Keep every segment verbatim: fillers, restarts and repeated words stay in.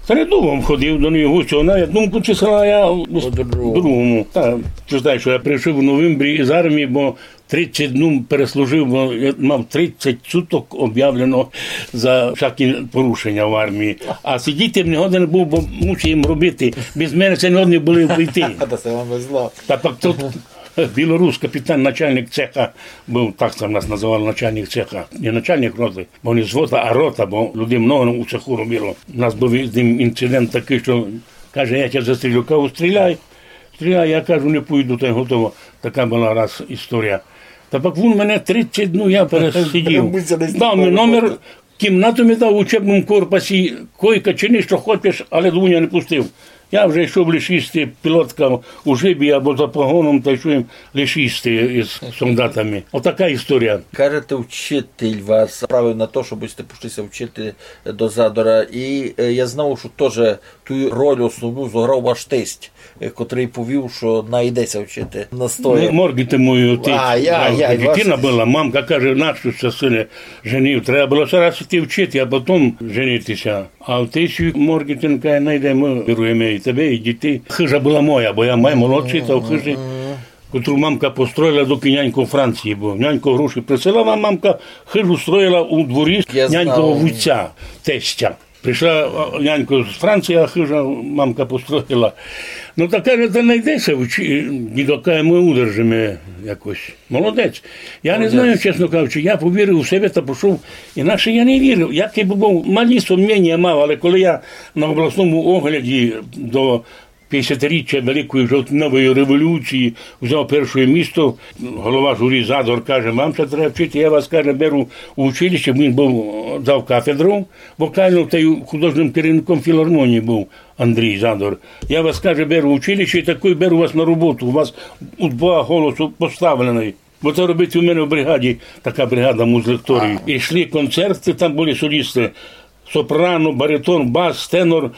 Та не думав, ходив до нього, що вона, я думку числа, я по другому. Та, ти знаєш, що я прийшов у новембрі із армії, бо тридцять днів переслужив, бо я мав тридцять суток об'явлено за всякі порушення в армії. А сидіти не годен був, бо мусив їм робити. Без мене це не годні були вийти. Та це вам везло. Та пак тут білорус, капітан, начальник цеха був, так це в нас називали, начальник цеха. Не начальник роти, бо не звода, а рота, бо людей много у цеху робило. У нас був з ним інцидент такий, що каже: «Я тебе застрілю». Кажу: «Стріляй, стріляй». Я кажу: «Не пойду», та й готово. Така була раз історія. Та пак він мене тридцять днів, я пересидів. Дав мені номер, кімнату мені дав у учебному корпусі, койка, чини, що хочеш, але до мене не пустив. Я вже йшов лиш їсти, пілотка у жибі або за погоном, та йшов їм лиш їсти із солдатами. Отака історія. Кажете, учитель вас направив на то, щоб сте пішли ся вчити до Задора. І, е, я знав, що теж ту роль основну зіграв ваш тесть, е, котрий повів, що найде ся вчити. Настояв. Морґіти мою отець. А, я, я, дитина була, мамка каже: «Нащо ся, сине, женив? Треба було ся раз іти вчити, а потім женитися». А отець Морґітин каже: «Найдемо, даруємо і тебе, і дітей». Хижа була моя, бо я май молодший, та в хижі, котру мамка построїла, доки нянько у Франції був. Нянько гроші присилала, мамка хижу строїла у дворі нянькового вуця, тестя. Прийшла, а, нянько з Франції, а хижа мамка построїла. Ну, та каже: «Та найде ся, дідо, каже, ми удержимо якось». Молодець. Я не знаю, чесно кажучи, я повірив у себе та пішов. Інакше я не вірив. Як я був, малі сумніння мав, але коли я на обласному огляді до пятдесятиріччя Великої Жовтневої революції взяв перше місце, голова журі Задор каже: «Вам ся треба вчити, я вас, каже, беру у училище». Він був, е, завкафедру вокальну та й художнім керівником філармонії був Андрій Задор. «Я вас, каже, беру в училище і такой беру вас на роботу. У вас у два голосу поставлений». Бо це робить у мене в бригаді, така бригада музлекторів. Ага. Йшли концерти, там були солісти. Сопрано, баритон, бас, тенор,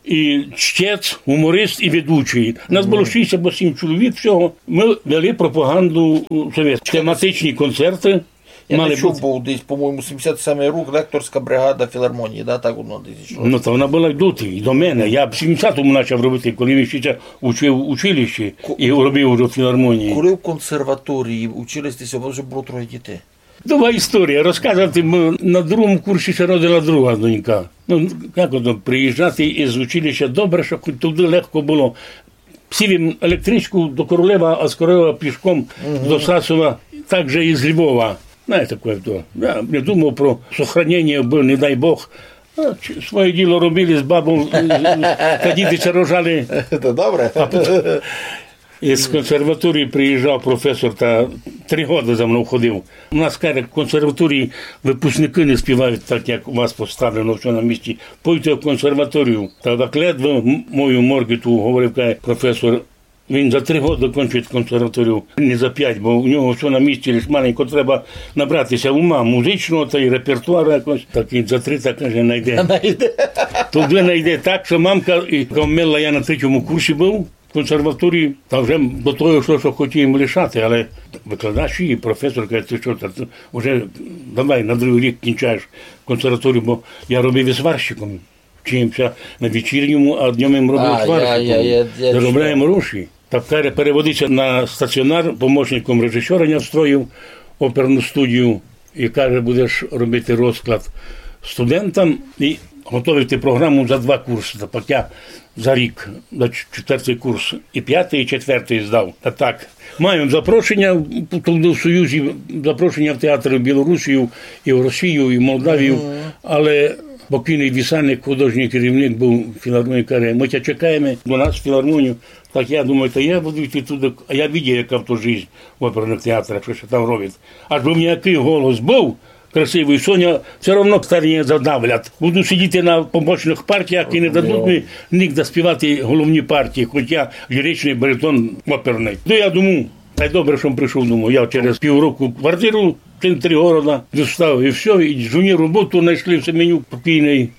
і чтець, гуморист і ведучий. Нас було шість або сім чоловік всього. Ми вели пропаганду у совєт. Тематичні концерти. Я мали не чув, бути. Бо десь, по-моєму, сімдесят сьомий рік, лекторська бригада філармонії, да, так воно десь йшло. Ну, то вона була й доти, і до мене. Я в сімдесятому почав робити, коли він ще учив у училищі і робив уже в філармонії. Коли в консерваторії учились, то вже було троє дітей. Довга історія. Розказувати, бо на другому курсі ся родила друга донька. Ну, як ото, приїжджати із училища, добре, що хоч туди легко було. Сів им електричку до Королева, а з Королева пішком до Сасова, так же і з Львова. Знаєте, таке то. Я не думав про сохранення, бо, не дай Бог. А, чи-, своє діло робили з бабом, з-, з-, та діти ся рожали. То добре. А потім із консерваторії приїжджав професор та три годы за мною ходив. У нас, каже, в консерваторії випускники не співають так, як у вас поставлено, всьо на місці. Пойте в консерваторію. Та так ледве м-, мою Морґіту говорив, каже професор, він за три годы кончить консерваторію, не за пять, бо у нього всьо на місці, лиш маленько треба набратися ума музичного та й репертуару якось. Так він за три, так каже, найде. Найде. Туди найде так, що мамка, і коли я на третьому курсі був, консерваторії, та вже до того йшло, що хотів їм лишати, але викладач і професор каже: «Ти що, та, ти вже давай на другий рік кінчаєш консерваторію», бо я робив і сварщиком. Вчився на вечірньому, а днем їм робив сварщиком. А, я, я, я, я чув. Заробляємо гроші. Та каже, переводиться на стаціонар, помощником режисера я встроїв оперну студію. І каже: «Будеш робити розклад студентам і готовити програму за два курси». Та пак я за рік, за ч-, четвертий курс, і пятий, і четвертий здав. Та так. Маю запрошення в, в Союзі, запрошення в театри в Білорусію, і в Росію, і в Молдавію. Мгм. Але покійний Вісаник, художній керівник був філармонії, каже: «Ми тебе чекаємо до нас в філармонію». Так я думаю, та я буду йти туди, а я видів, яка то жизнь в оперних театрах, що ся там робить. Аж бы мені який голос був красивий, Соня, всьо равно старі не задавлять. Буду сидіти на помощних партіях і не дадуть мені нігде співати головні партії, хоч я ліричний баритон оперний. То я думаю, та й добре, що прийшов, думаю. Я через півроку квартиру в центрі города дістав, і всьо, і жоні роботу знайшли в Семенюк покійний.